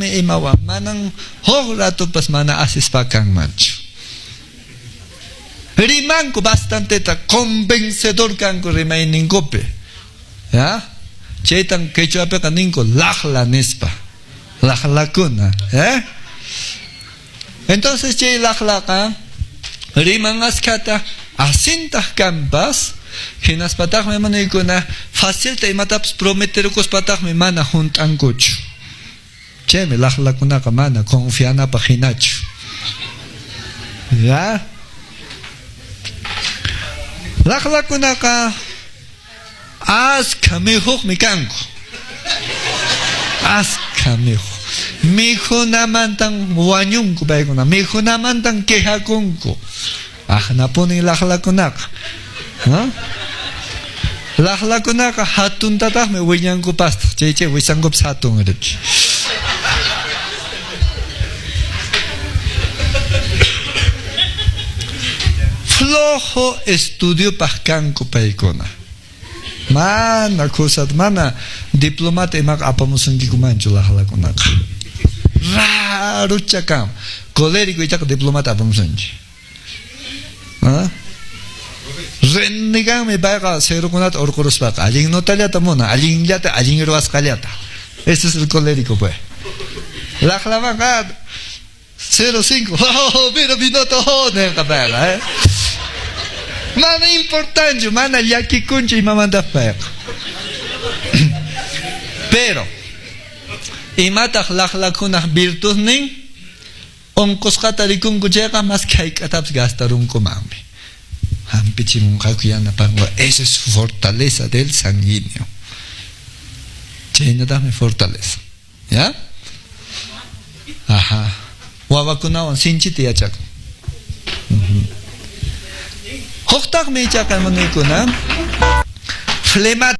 Imawan manan huk ratupas mana asispa kanmanchu. Rimanku bastanteta, convencedor kanku rimayninkupi. Ya? Chaytan quechuapiqa ninku laqla nispa. Laqlakuna, ¿eh? Entonces chay laqlaqa riman askhata asintaq kanpas, hinaspataqmi hermanoykuna facilta imatapas prometerukuspataqmi mana hunt'ankuchu. Chaymi laqlakunaqa mana confianapaq hinachu. Ya? Laqlakunaqa askha mikhuqmi kanku. Askha mikhuq. Mikhunamantan wañunku paykuna, mikhunamantan quejakunku. Aqnapunin laqlakunaqa. ¿No? Laqlakunaqa hatuntataqmi wiñankupastaq. Chay chay wisankupas hatun riki. Flojo estudiopaq kanku paykuna. Mana kusat, mana diplomata imaqa apamusunkikumanchu laqlakunaqa. Rarucha kan. Colérico ichaqa diplomata apamusunki. ¿Ah? Reneganmi payqa cerokunata urquruspaqa allin notallata muna, allinllata, allin ruwasqallata. Ese es el colérico, pues. Laqlamanqa 0,5. Oh, mira mi nota, oh, ninqa payqa, ¿eh? Mana importanchu, mana llakikunchu imamanta payqa. Pero imataq laqlakunaq virtudnin? Unqusqata rikunku chayqa mas hayk'atapas gastarunkumanmi. Hampichimunqaku yanapanku. Esa es fortaleza del sanguíneo. Chaynataqmi fortaleza. ¿Ya? Ajá. Wawakunawan sinchita yachakun. Huktaqmi ichaqa hermanoykuna flemático.